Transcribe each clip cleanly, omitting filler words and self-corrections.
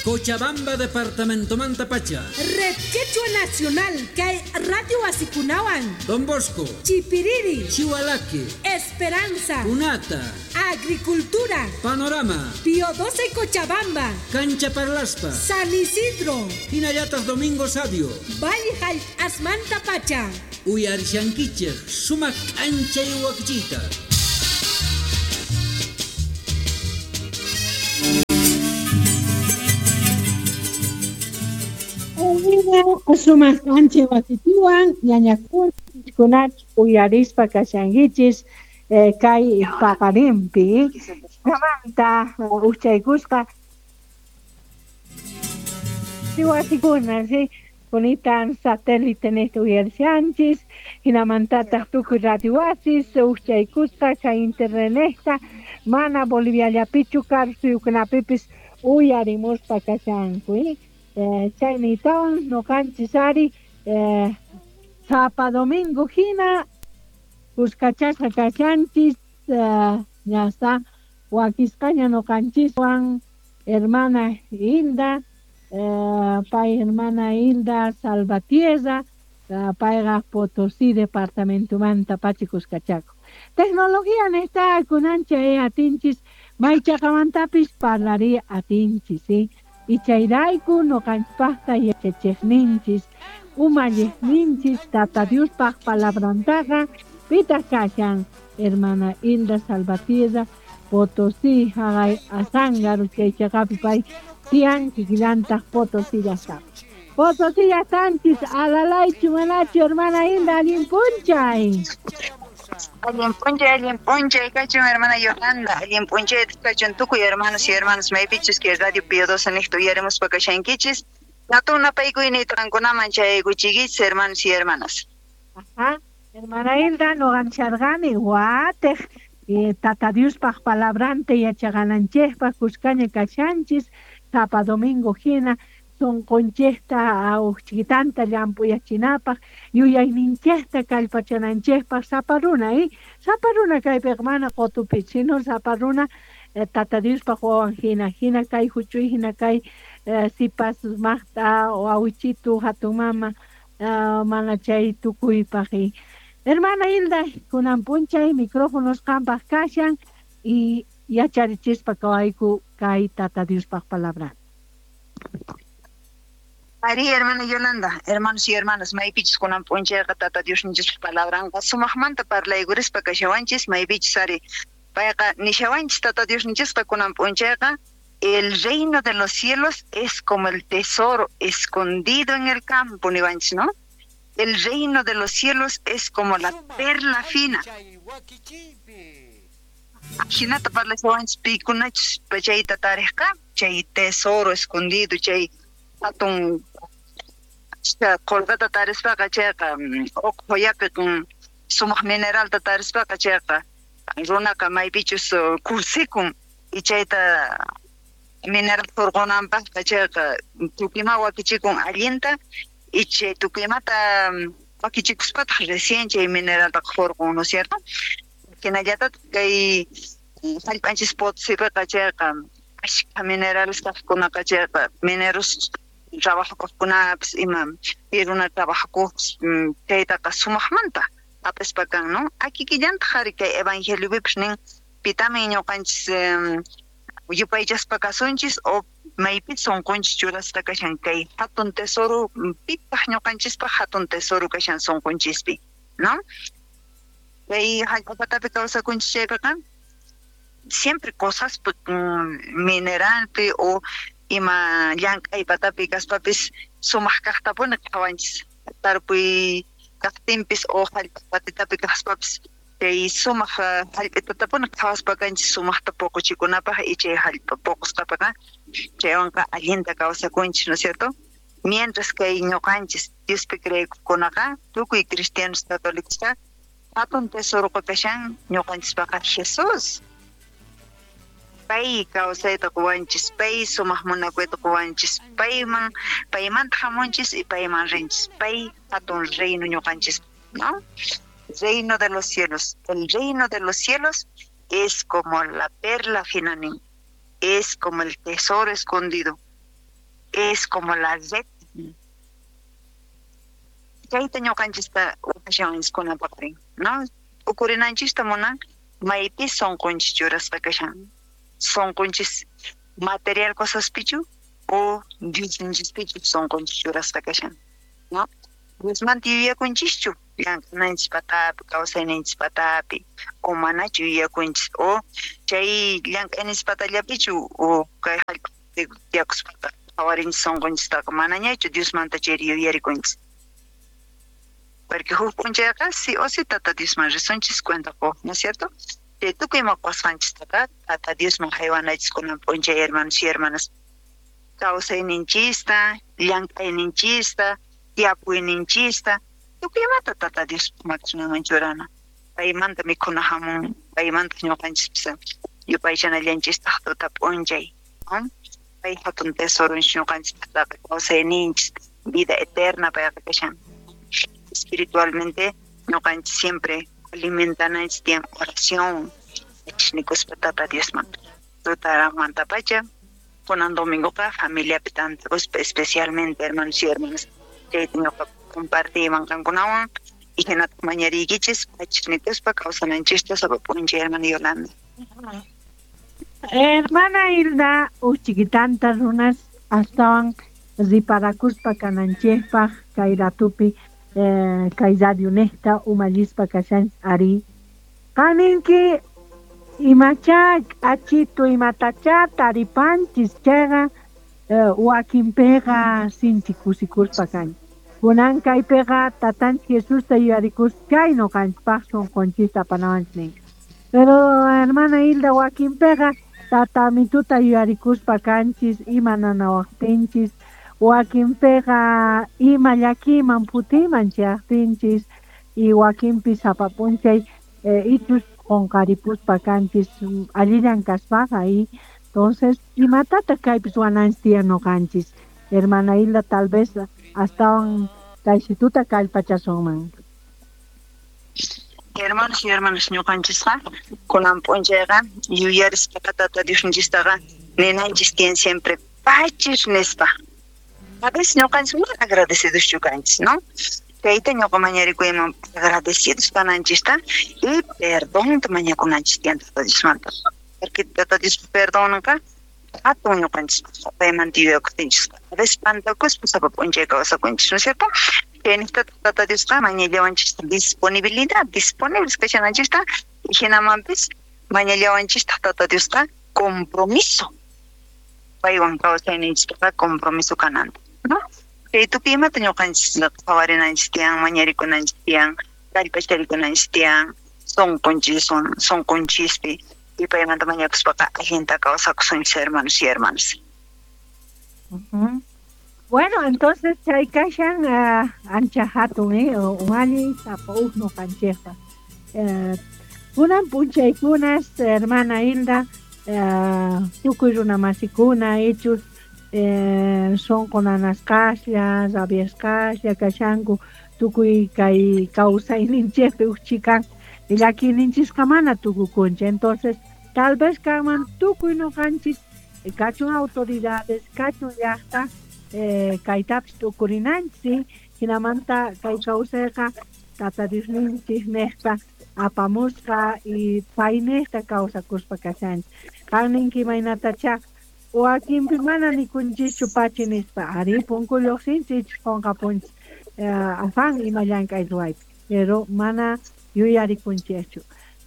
Cochabamba departamentomanta pacha. Red Quechua Nacional kay Radio Wasikunawan. Don Bosco. Chipiriri. Chihualaque. Esperanza. Punata. Agricultura. Panorama. Pío 12 Cochabamba. Cancha Parlaspa. San Isidro. Hinallataj Domingo Sabio. Valle Asmanta Pacha. Uyarishankichej sumaq k'anchay wakichiyta. Sumaq k'anchay wakichiwan ñañakunach uyarispa kashankichis kay paqarinpi kamanta ujchaykusqa wasikuna sí kunitan satélite nesta uyarishanchis hinamantataq tukuy radio wasis ujchaykusqa chay internetnejta mana Boliviallapichu karu suyukunapipis uyarimuspa kashanku chayniytawan noqanchis ari sapa domingo hina kuskachasqa kashanchis ñasta wakisqaña noqanchiswan hermana Hilda pay hermana Hilda Salvatierra payqa Potosí departamentomanta pacha kuskachaku. Tecnología nesta kunancha atinchis maychaqamantapis parlari atinchis ¿sí? Y chayrayku noqanchpaqta yachachejninchis umalliqninchis Tata Diospaq palabrantaqa pitaq kashan hermana Hilda Salvatierra Potosí haqay Azángaro chaychaqapi pay tiyan kikillantaq Potosí llaqtapi. Potosí llaqtanchis alalaychu manachu hermana Hilda allin p'unchay. Allin p'unchay kachun hermana Yolanda, allin p'unchay kachun tukuy hermanos y hermanas maypichus que Radio Pío 12 niqta uyarimuspa kashankichis. Hatun napaykuyniyta qankunaman chayaykuchiykichis hermanos y hermanas. Ajá, hermana Hilda noqancharqani watej Tata Diospaq palabranta yachaqananchejpaq kuskaña kashanchis sapa domingo hina sonqonchejta ujchikitanta llamp'uyachinapaq yuyayninchejta kallpachananchejpaq sapa runa sapa runa kaypiqa mana qutupi sino sapa runa Tata Diospaq wawan hina hina kay huch'uy hina kay sipas maqt'a awichitu hatun mama mana chay tukuypaq. Hermana Hilda kunan p'unchay micrófonos qampaq kashan y yacharichispa kawayku kay Tata Diospaq palabra. Ari, hermana Yolanda, hermanos y hermanas, maypichis kunan p'unchayqa Tata Diosninchis palabranqa sumaqmanta parlaykurispa kashawanchis maypichis ari payqa nishawanchis Tata Diosninchisqa kunan p'unchayqa el reino de los cielos es como el tesoro escondido en el campo niwanchis, ¿no? El reino de los cielos es como la perla fina. Hinata parlashawanchis pikunachus chayta tariqqa chay tesoro escondido chay hatun qolqata tarispaqa chayqa uqhuyapi sumaq mineralta tarispaqa chayqa runaqa maypichus kusikun y chayta mineral hurqunanpaqqa chayqa tukuy wakichikun allinta y chay tukuymata wakichikuspataq recién chay mineraltaqa hurqun, ¿no es cierto? Hinallataq kay hallp'anchis Potosipiqa chayqa ashka minerales kaqkunaqa chayqa mineros trabajakuqkunapis ima pi runa trabajakuqpis chaytaqa sumaqmanta hap'ispa kan, ¿no? Akikillantaq ari kay evangeliopipis nin pitamin ñuqanchis yupaychaspa kasunchis o maypis sunqunchis churasqa kashan kay hatun tesoro pitaq ñuqanchispaq hatun tesoro kashan sunqunchispi, ¿no? Kay hallp'apatapi kawsakunchis chaypiqa siempre cosas mineralpi o ima llank'aypatapi kaspapis sumaq kaqtapuni qhawanchis tarpuy kaqtinpis o hallp'apatitapi kaspapis chay sumaq hallp'itatapuni qhawaspa kanchis sumaqta puquchikunapaq y chay hallp'a puqusqapiqa chaywanqa allinta kawsakunchis, ¿no es cierto? Mientras kay ñuqanchis Diospi creekuqkunaqa tukuy cristianos católicosqa hatun tesoroqa kashan ñuqanchispaqa Jesús. Pay kawsayta quwanchis, pay sumaq munakuyta quwanchis, payman paymanta hamunchis y payman rinchis, pay hatun reino ñuqanchis, ¿no? Reino de los cielos. El reino de los cielos es como la perla fina, es como el tesoro escondido. Es como la red. Chayta ñuqanchista waqashawanchis ¿no? Ukurinanchista munan maypi sunqunchis churasqa kashan. Sunqunchis material cosaspichu o Diosninchispichu sunqunchis churasqa kashan, ¿no? Diosmanta yuyakunchischu llank'ananchis patapi, kawsayninchis patapi, o manachu yuyakunchis, o chay llank'ayninchis patallapichu o kay hallp'api tiyakuspaqa qhawarinchis sunqunchistaqa manañachu Diosmanta chayri yuyarikunchis. Porque huk p'unchayqa sí o sí Tata Diosman risunchis cuenta quq, ¿no es cierto? Chay tukuy ima qusqanchistaqa Tata Diosman haywanachis kunan p'unchay hermanos y hermanas. Kawsayninchista, llank'ayninchista, tiyapuyninchista, tukuy imata Tata Dios makinman churana. Paymanta mikhuna hamun, paymanta ñuqanchispis yupaychanallanchistaq tuta p'unchay, ¿no? Pay hatun tesoronchis ñuqanchispaqtaqa kawsayninchis, vida eterna payqa kashan. Espiritualmente ñuqanchis siempre alimentananchis tiyan oración, nikuspa Tata Diosman. Tutamantapacha, kunan domingoqa familiapi tantakuspa especialmente hermanos y hermanas. Chayta ñuqa compartiyman qankunawan y hinataq mañariykichis pachis nikuspa kawsananchista sapa p'unchay, hermana Yolanda. Hermana Hilda, uchiquitanta runas astawan riparakuspa kananchikpaq kay ratupi kay radio nejta umallispa kashan ari. Qaninki imacha k'achitu imatacha taripanchis chayqa wakinpiqa sinchi kusikuspa kanchis. Kunan kaypiqa tatanchik Jesusta yuyarikuspa chay ñuqanchikpaq sunqunchista apanawanchis ninqa. Pero hermana Hilda wakinpiqa tatamituta yuyarikuspa kanchis ima nanawaqtinchis, wakinpiqa ima llakiyman phutiyman chayaqtinchis y wakinpi sapa p'unchay ichus qunqaripuspa kanchis allillan kaspaqa y entonces imatataq kaypis wananchis tiyan ñuqanchis. Hermana Hilda tal vez astawan kaysituta kallpachasunman. Hermanos y hermanas ñuqanchisqa kunan p'unchayqa yuyarispaqa Tata Diosninchistaqa ninanchis tiyan siempre pachis nispa. A veces ñuqanchis mana agradecidos kanchis, ¿no? Chayta ñuqa mañarikuyman agradecidos kananchista y perdonta mañakunanchis tiyan Tata Diosmanta. Porque Tata Dios perdonanqa hatun ñuqanchis paymanta yuyakutinchis. A veces pantakuspa sapa p'unchay kawsakunchis, ¿no es cierto? Chayniqta Tata Diosqa mañallawanchista disponibilidad, disponibles kashananchista y hinamanpis mañallawanchista Tata Diosqa compromiso. Paywan kawsayninchistaqa compromiso kananta, ¿no? Chay tukuy imata ñuqanchis qhawarinanchis tiyan, mañarikunanchis tiyan, kallpacharikunanchis tiyan, sunqunchis, sunqunchispi y paymanta mañakuspaqa allinta kawsakusunchis hermanos y hermanas. Bueno, entonces chay kashan ancha hatun umalli sapa uj ñuqanchikpa. Kunan p'unchaykunas hermana Hilda tukuy runamasikuna ichus sunqu nanasqaslla, rabiasqaslla kashanku tukuy kay kawsayninchikpi uj chikan llakiyninchisqa mana tukukunchik. Entonces tal vez kanman tukuy ñuqanchis kachun autoridades, kachun llaqta kaytapis tukurinanchis, hinamanta kay kawsayqa Tata Diosninchik niqta apamusqa y payniqta kawsakuspa kashanchik. Qan ninki imaynatacha wakinpi mana nikunchischu pachi nispa, ari punku lluqsinchik ichus qunqapunchis afán ima llank'ay ruwaypi, pero mana yuyarikunchikchu.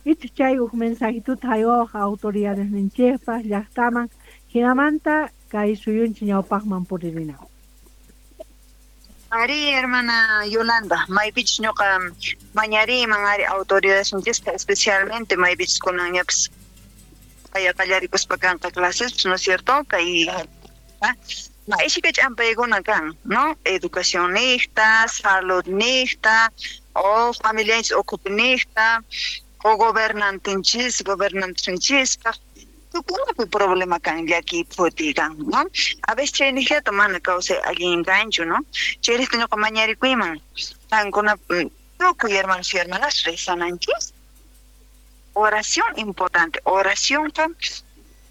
Ichus chay uj mensajituta haywawaq autoridades ninchikpaq llaqtaman hinamanta kay suyunchik ñawpaqman puririna. Ari, hermana Yolanda, maypichus ñuqa mañariyman ari autoridades ninchispa especialmente maypichus kunanñapis kay qallarikuspa kanqa clases, ¿no es cierto? Kay ishka ch'ampaykuna kan, ¿no? Educación niqta, salud niqta, o familianchis ukhupi niqta, o gobernantinchis, gobernantinchispaq tukunapi problema kan llaki phuti kan, ¿no? A veces chay niqllata mana kawsay allin kanchu, ¿no? Chayrayku ñuqa mañarikuyman qankuna tukuy hermanos y hermanas rezananchis. Oración importante, oración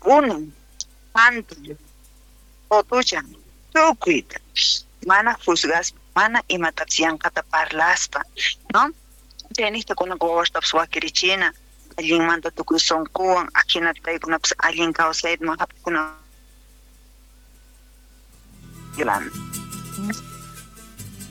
uno, panto, otuchan, Tukuyta mana juzgaspa, mana imatapis yanqata parlaspa, ¿no? Chaynejta kunanqa wawastapis wakirichina, allinmanta tukuy sunquwan, ajinata paykunapis allin kawsayman jap'ikuna. Yolanda.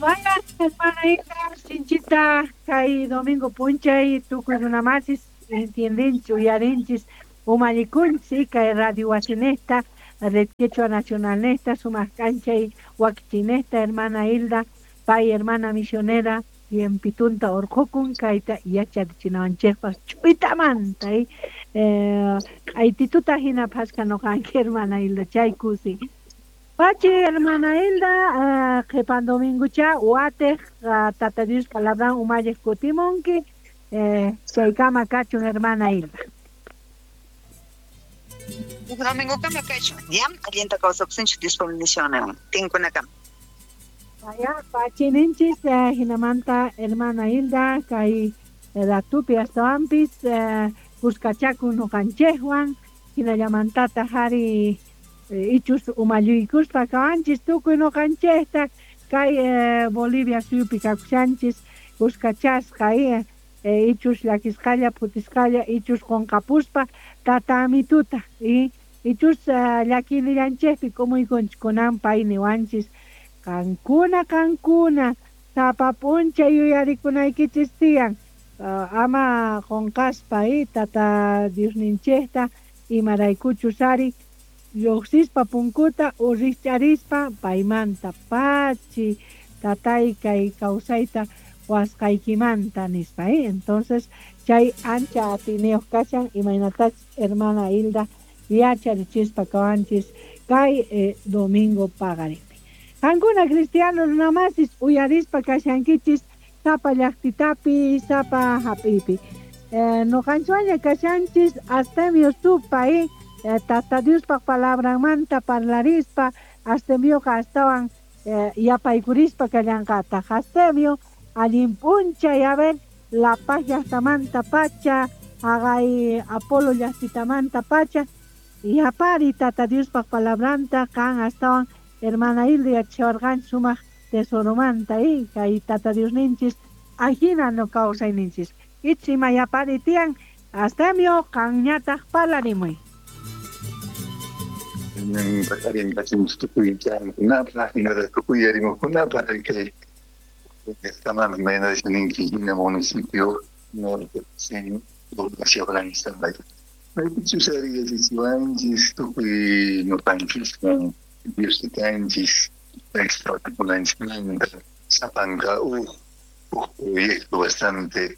Vaya, hermana Hilda, sinchita kay domingo p'unchay tukuy runamasis entiendenchis, uyarinchis, umallikunchis kay radio wasinejta, Red Quechua Nacional nesta, sumaq k'anchay wakichinejta, hermana Hilda, pay hermana misionera, tiempitunta urqhukun kayta yachachinawanchikpaq ch'uytamanta, q'aytituta hina phasqa nuqanki hermana Hilda, chay kusi. Pachi hermana Hilda, qhipan domingocha watej Tata Dios palabran umalliq kutimunki, chaykama kachun hermana Hilda. Domingokama kachun, ya allinta kawsakusunchik Diospa bendicionninwan, tinkunakama. Vaya, pachi ninchis, hinamanta hermana Hilda kay ratupi astawanpis kuskachakun nuqanchikwan, hinallamantataq ari ichus umalluykuspa kawanchis tukuy nuqanchikta kay Bolivia suyupi kakushanchis kuskachasqa, ichus llakisqalla phutisqalla ichus qunqapuspa tata amituta, ichus llakinillanchikpi k'umuykunchik kunan pay niwanchis qankuna qankuna sapa p'unchay yuyarikunaykichis tiyan, ama qunqaspa tata Diosninchikta imaraykuchus ari lluqsispa punkuta urrich'arispa paymanta pachi tatay kay kawsayta wasqaykimanta nispa, Entonces chay ancha atiniyuq kashan imaynatachus hermana Hilda yacharichispa kawanchis kay domingo paqarinpi. Qankuna cristiano runamasis uyarispa kashankichis sapa llaqtitapi, sapa hap'ipi. Nuqanchwaña kashanchis Astemio supa, Tata Diospaq palabranmanta parlarispa Astemioqa astawan yapaykurispa kallanqataq. Astemio allin p'unchay, a ver, La Paz llaqtamanta pacha, haqay Apolo llaqtitamanta pacha, yapari Tata Diospaq palabranta qan astawan hermana Hilda yachawarqanchis sumaq tesoromanta, kay Tata Diosninchis ajina no kawsayninchis. Ich ima yapari tiyan, Astemio qanñataq parlarimuy. Municipio norte proyecto bastante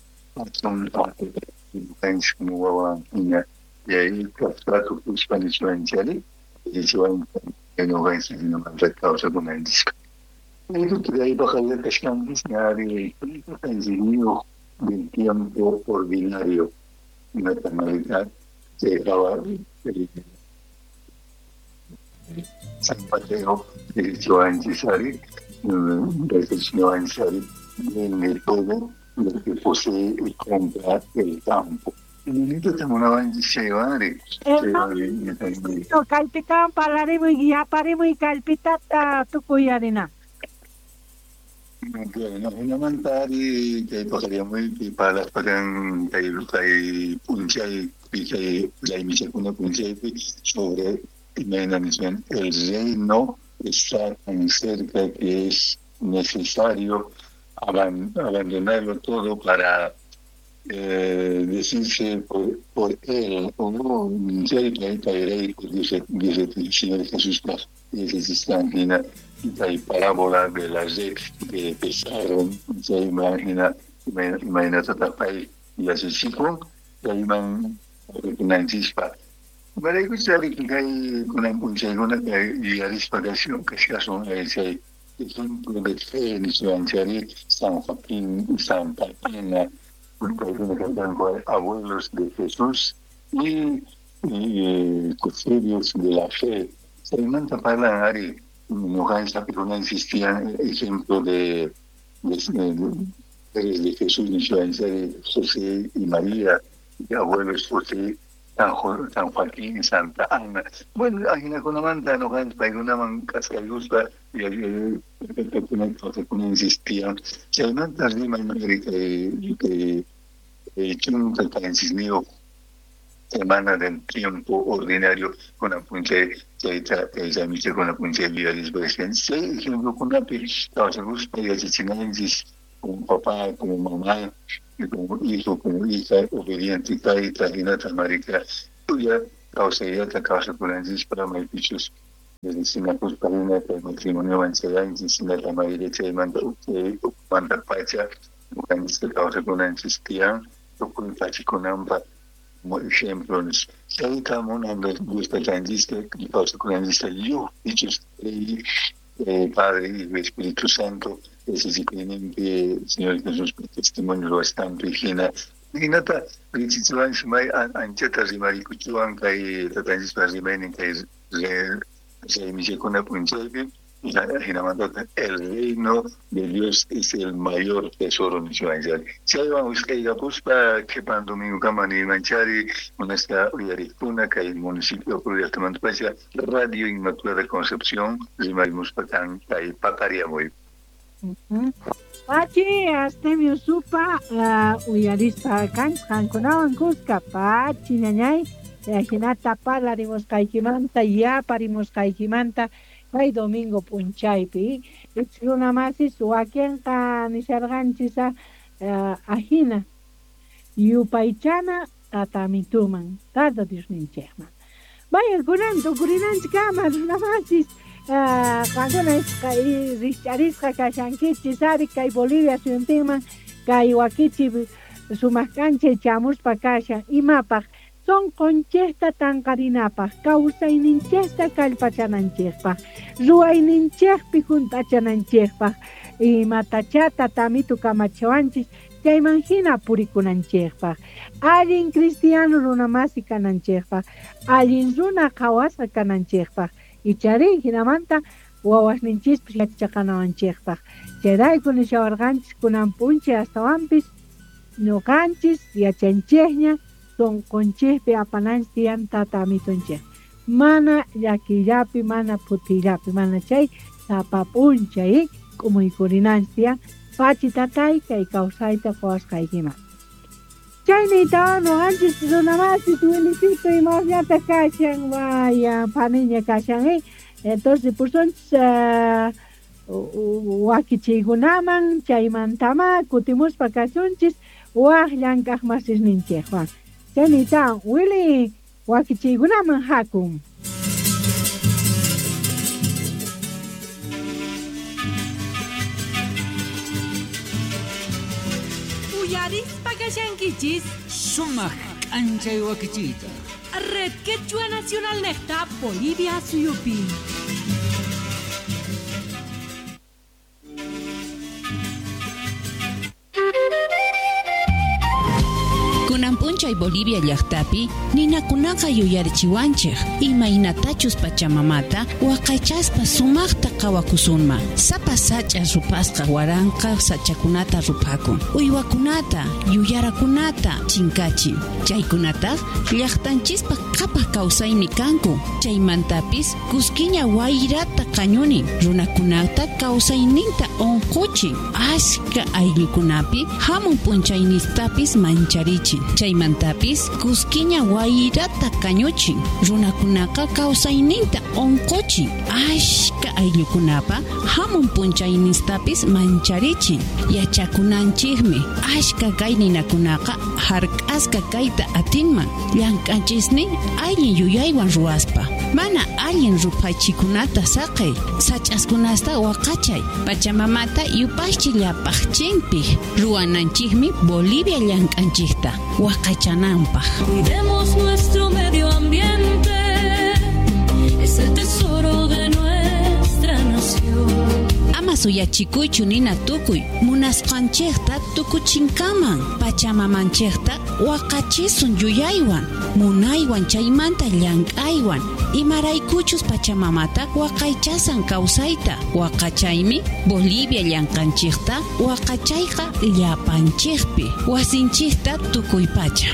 y ahí del tiempo ordinario, una tonalidad se dejaba San Mateo, vende todo lo que posee y compra el campo. Kallpitawan parlarimuy, yaparimuy kallpitata tukuyarina. Bueno, hinamanta ari kay paqariamuypi parlaspakan kay p'unchay kay laymichakuna p'unchaypi sobre imayna niswan el reino está tan cerca que es necesario abandonarlo todo para decirse por él o no, dice el Señor Jesús, hay parábola de la red que pesaron, se imagina imagina y así chico, y ahí van una chispa. Ejemplo de fe San Joaquín, Santa Ana, abuelos de Jesús y custodios de la fe. Se manda parlar ari no existían ejemplo de Jesús, José y María, y abuelos José, San Joaquín, Santa Ana. Bueno, ajinakunamanta nuqanchis paykunaman k'askaykuspa kawsakunanchis tiyan. Chaymanta riman kay 17 semana del tiempo ordinario kunan p'unchay chayta kay raymichakuna p'unchay yuyarispa kashanchis. Chay ejemplokunapi kawsakuspa yachachinanchis como papá, como mamá, como hijo, como hija, obediente kayta, hinata marika tuya kawsayllata kawsakunanchispaq maypichus sinakuspa hina kay matrimoniowan chayanchis hinata marika chaymanta ukhumanta pacha ñuqanchis kawsakunanchis tiyan tukuy pachakunanpaq como ejemplo chayta munan Dios taytanchista kawsakunanchista lliw pichus Padre, Hijo, Espíritu Santo yachachikuyninpi Señor Jesús testimonio ruwasqanpi hina hinata richichiwanchis may anchata rimarikuchiwan kay tatanchispa rimaynin kay raymichakuna p'unchaypi hinamantata el reino de Dios es el mayor tesoro niswanchari. Chaywan wisq'aykapuspa qhipan domingokama niymanchari munasqa uyariqkuna kay municipio llaqtamantapacha Radio Inmaculada Concepción rimarimuspa kan kay paqariyamuy. Pachi, Astemio Supa, uyarispa kanchis qankunawan kuska, pachi ñañay, hinata parlarimusqaykimanta, yaparimusqaykimanta, kay domingo p'unchaypi, runa masis wakinqa nisharqanchis ajina yupaychana tatamituman, Tata Diosninchikman. Vaya kunan tukurinanchikkama runa masis, qankuna rikch'arisqa kashankichis ari kay Bolivia suyuntinman kay wakichi sumaq k'anchay chamuspa kashan imapaq sonqonchikta tanqarinapaq, kawsayninchikta kallpachananchikpaq, ruwayninchikpi hunt'achananchikpaq, imatachá tatamitu kamachiwanchis chayman hina purikunanchikpaq, allin cristiano runamasi kananchikpaq, allin runa qhawasqa kananchikpaq, icharí hinamanta wawasninchispis yachaqanawanchikpaq. Chayrayku nishawarqanchis kunan p'unchay astawanpis ñuqanchis yachanchikña sonqonchikpi apananchis tiyan tata amitunchik. Mana llakiyllapi, mana phutiyllapi, mana chay sapa p'unchay k'umuykurinanchis tiyan pachi tatay kay kawsayta quwasqaykiman. Chayniytawan ñuqanchis runamasis Wilisito imasllata kashan, vaya paniña kashan, entonces pusunchis wakichiykunaman chaymantama kutimuspa kasunchis waj llank'aq masisninchikwan. Chayniytawan Wili wakichiykunaman hakun. Uyarispa kashankichis sumaq k'anchay wakichiyta. Red Quechua Nacional nejta Bolivia suyupi. Kunan p'unchay Bolivia llaqtapi ninakunaqa yuyarichiwanchik imaynatachus pachamamata waqaychaspa sumaqta qhawakusunman. Sapa sach'a rupasqa waranqa sachakunata rupakun, uywakunata yuyarakunata chinkachin. Chaykunataq llaqtanchispa qhapaq kawsaymi kanku. Chaymantapis kuskiña wayrata qañunin, runakunata kawsayninta unquchin, ashka ayllukunapi hamun p'unchaynistapis mancharichin. Chaymantapis kuskiña wayrata kañuchin, runakunaqa kawsayninta unquchin, ashka ayllukunapa hamun p'unchaynistapis mancharichin. Yachakunanchikmi ashka kay ninakunaqa hark'asqa kayta atinman llank'anchisnin allin yuyaywan ruwaspa. Mana allin ruphachikunata saqey, sach'askunasta waqachay, pachamamata yupaychi llapaqchinpi ruwananchikmi Bolivia llank'anchikta waqachananpaq. Cuidemos nuestro medio ambiente, es el tesoro de nuestra nación. Ama suyachikuychu nina tukuy, munasqanchikta tukuchinkaman, pachamamanchikta waqachisun yuyaywan, munaywan chaymanta llank'aywan, imaraykuchus pachamamata waqaychasan kawsayta, waqachaymi Bolivia llank'anchikta waqachayqa llapanchikpi, wasinchikta tukuypacha.